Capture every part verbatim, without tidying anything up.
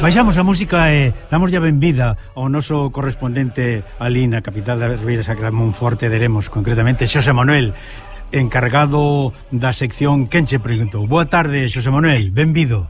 Baixamos a música e damos ya benvida ao noso correspondente ali na capital da Ribeira Sacra, Monforte de Lemos, concretamente Xosé Manuel, encargado da sección Quen che preguntou. Boa tarde, Xosé Manuel, benvido.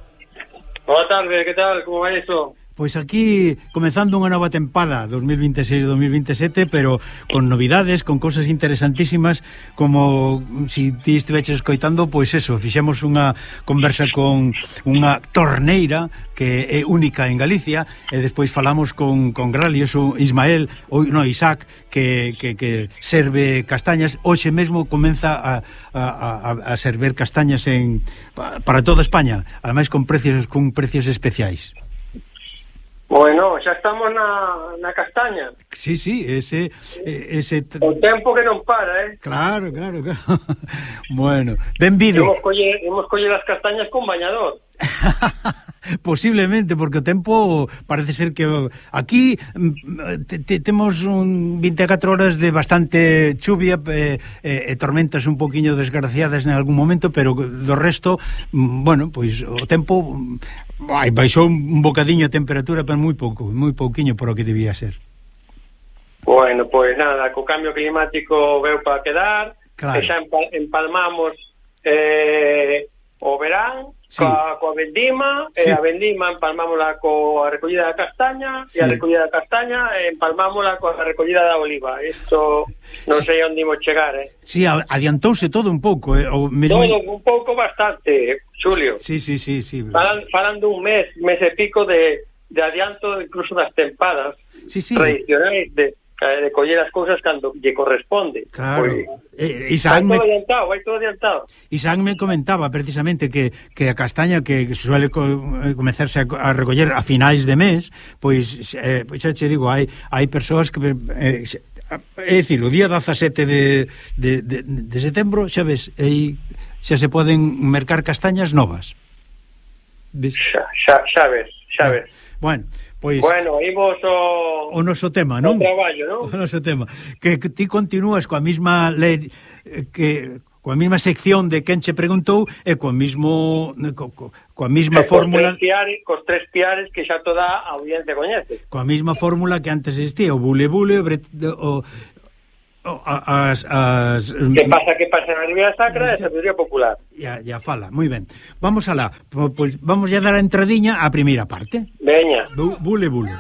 Boa tarde, que tal? Como vai iso? Pois aquí, comezando unha nova tempada dos mil vinte e seis dos mil vinte e sete, pero con novidades, con cousas interesantísimas, como si ti estiveches escoitando, pois eso, fixemos unha conversa con unha torneira que é única en Galicia, e despois falamos con, con Gralios, o Ismael, ou no, Isaac, que, que, que serve castañas. Hoxe mesmo comeza a, a, a server castañas en, para toda España, ademais con precios, con precios especiais. Bueno, xa estamos na, na castaña. Sí, sí, ese, ese... O tempo que non para, eh? Claro, claro, claro. Bueno, benvido. Imos coller, imos coller as castañas con bañador. Posiblemente, porque o tempo parece ser que aquí te, te, temos un vinte e catro horas de bastante chuvia e, e, e tormentas un poquinho desgraciadas en algún momento, pero do resto, bueno, pois o tempo ai, baixou un bocadiño a temperatura, pero moi pouco, moi pouquiño por o que debía ser. Bueno, pois nada, co cambio climático veu para quedar, claro. Que xa empalmamos eh, o verán, sí. coa, coa vendima, sí. E a vendima empalmámola coa recollida da castaña, sí. E a recollida da castaña empalmámola coa recollida da oliva. Isto non sei onde imos chegar, eh? Si, sí, adiantouse todo un pouco, eh? O mesmo... Todo un pouco bastante, Xulio. Sí, sí, sí, sí. Falan, falan dun mes, mes e pico de, de adianto incluso das tempadas, sí, sí. Tradicionais de, de coller as cousas cando lle corresponde. Claro. Pues, eh, vai todo me... adiantado, vai todo adiantado. Isaac me comentaba precisamente que, que a castaña que suele co comezarse a, a recoller a finais de mes, pois eh, xa che digo, hai hai persoas que eh, é dicir, o día dezasete de, de, de, de setembro, xa ves, aí xa se poden mercar castañas novas. Ves? Xa, xa, xa ves, xa ves. Bueno, pois bueno, imos o o noso tema, non? O traballo, non? O noso tema. Que, que ti continúas coa mesma lei, que coa mesma sección de Quen che preguntou e coa mismo co, co, coa mesma e fórmula, cos tres, piares, cos tres piares que xa toda a audiencia coñece. Coa mesma fórmula que antes existía, o bule bule, o, o as, as que pasa que pasa na Ribeira Sacra e a sabiduría popular. Ya, ya fala, moi ben. Vamos alá, pois vamos ya dar a entradiña á primeira parte. Veña. Bule bule.